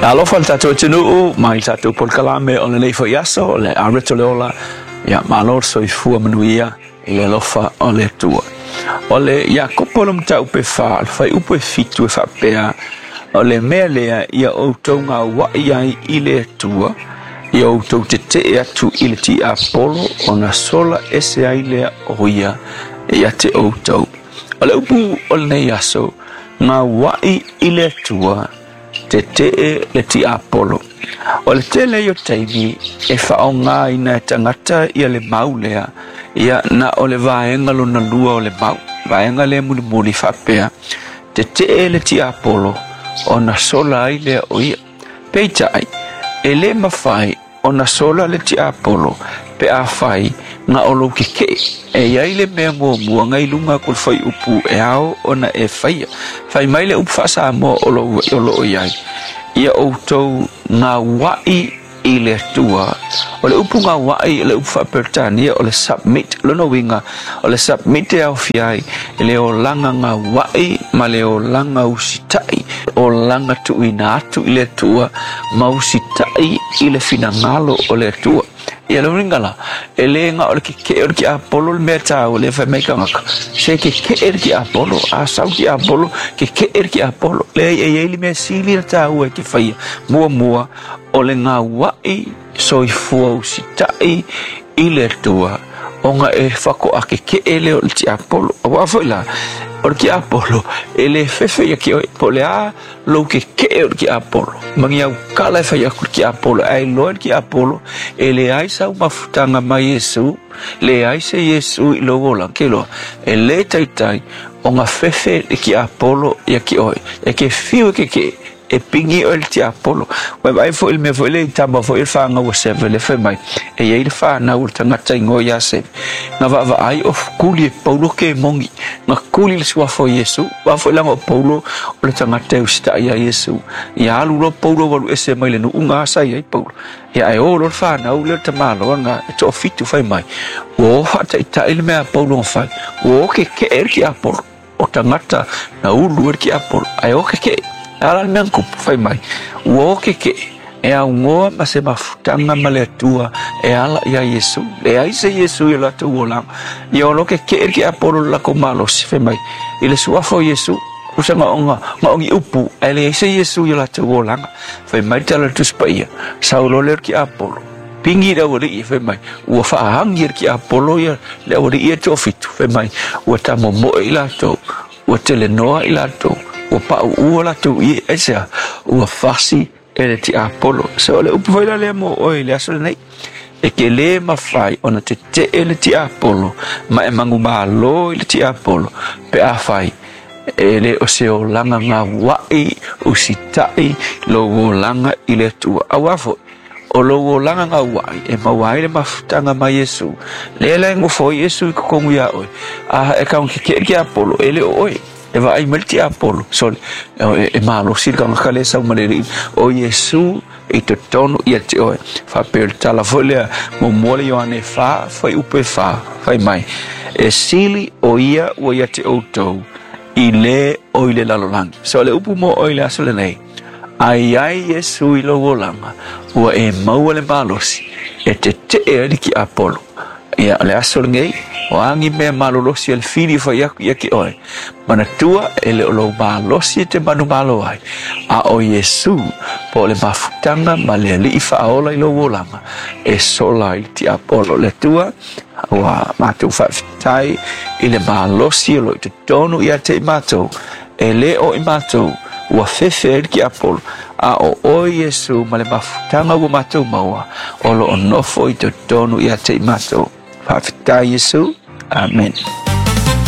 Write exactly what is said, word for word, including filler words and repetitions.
Alofa le tatou atunuu mai le tatou polokalame o lenei foi aso o le Areto le Ola. Ia malo le soifua manuia i le alofa o le Atua. O le Iakopo le mataupu e fa, le fuaiupu e fitu e faapea, o le mea lea ia outou gauai ai i le Atua, ia outou tetee atu i le tiapolo ona sola ese ai lea o ia ia te outou. O le upu o lenei aso, gauai i le Atua, tetee le tiapolo. O le tele o taimi e faaaogaina e tagata ia le mau lea, ia na o le vaega lona lua o le mau. Vaega lea mulimuli faapea, tetee le tiapolo ona sola ai lea o ia. Peitai, e le mafai ona sola le tiapolo pe afai na o lou kekee. E iai le mea muamua ngai luga atu o le fuaiupu e ao ona e faia. Fai mai le upu faa-Samoa o lo o lo o iai, ia outou gauai i le Atua. O le upu gauai, o le upu faa-Peretania o le submit. Lona uiga, o le submit e aofia ai le olaga gauai ma le olaga usitai. Olaga tuuina atu i le Atua ma usitai i le finagalo o le Atua. Ia le uiga la, e le na o le kekee o le tiapolo le mea taua lea fai mai tagata. Se kekee le tiapolo, a sau tiapolo, kekee le tiapolo. Leai, e iai le mea sili na taua e te faia. Muamua, o le gauai soifua usitai i le Atua, ona e faatoa kekee lea o le tiapolo. Aua foi la, o le tiapolo, e le fefe ia te oe, po o le a lou kekee o le tiapolo. Ma ni aukala e fai atu le tiapolo, ae iloa le tiapolo, e leai sau mafutaga mai Iesu, leai se Iesu i lou olaga. Ke iloa, e le taitai ona fefe le tiapolo ia te oe. E ke fiu e kekee, e pigi oe le tiapolo. Ua vaai foi le mea foi le i tama foi le fanau a Seve le fai mai, e iai le fanau o le tagata igoa ia Seve. Na vaavaai o kuli e Paulo ke mongi, na kuli le suafa o Iesu. Aua foi laga o Paulo o le tagata e usitai ia Iesu. Ia alu loa Paulo ua alu ese mai le nuu na asa ai Paulo. Ia ae o loa le fanau lea o le tamaloa na e toafitu fai mai, ua o faataitai le mea a Paulo na fai, ua o kekee le tiapolo. O tagata na ulu ai le tiapolo, ae o kekee. A la le mea na tupu fai mai, ua o kekee e augoa ma se mafutaga ma le Atua e ala ia Iesu. Leai se Iesu i o latou olaga. Ia o lo kekee le tiapolo i le latou malosi fai mai, i le suafa o Iesu, usa na o na o ni upu, ae leai se Iesu i o latou olaga. Fai mai le tala o le Tusi Paia, sau loa lea o le tiapolo, pigi le aualii fai mai, ua faaagi e le tiapolo ia le aualii e toafitu, fai mai, ua tamomoe i latou, ua telenoa i latou, ua pauu latou ie, aisea, ua fasi e le tiapolo. So o le upu foi la lea mo oe i le aso lenei, e ke le mafai ona tetee le tiapolo ma e manumalo i le tiapolo pe afai e le o se olaga gauai usitai lou olaga i le Atua. Aua foi, o lou olaga gauai e maua ai le mafutaga mai Iesu. Lea la e nofo ai Iesu i totonu ia oe, a e tago kekee le tiapolo, e le o oe. E vaai mai le tiapolo, sole, e malosi le tagata lea e sau ma le alii, o Iesu i totonu ia te oe. Faapea o le tala foi lea, muamua le Ioane fa, fuaiupu e fa, fai mai, e sili o ia ua ia te outou i le o i le lalolagi. So o le upu mo oe i le aso lenei, a i ai Iesu i lou olaga, ua e maua le malosi e tetee ai le tiapolo. Ia, o le aso lenei, o a ni mea malolosi a le fili e fai atu ia te oe, manatua e le o lou malosi e te manumalo ai, a o Iesu po o le mafutaga ma le alii faaola i lou olaga e sola ai le tiapolo. Le Atua, ua matou faafetai i le malosi o lo o i totonu ia te i matou, e le o i matou ua fefe ai le tiapolo, a o oe Iesu ma le mafutaga ua matou maua o lo o nofo i totonu ia te i matou. Faafetai Iesu. Amen.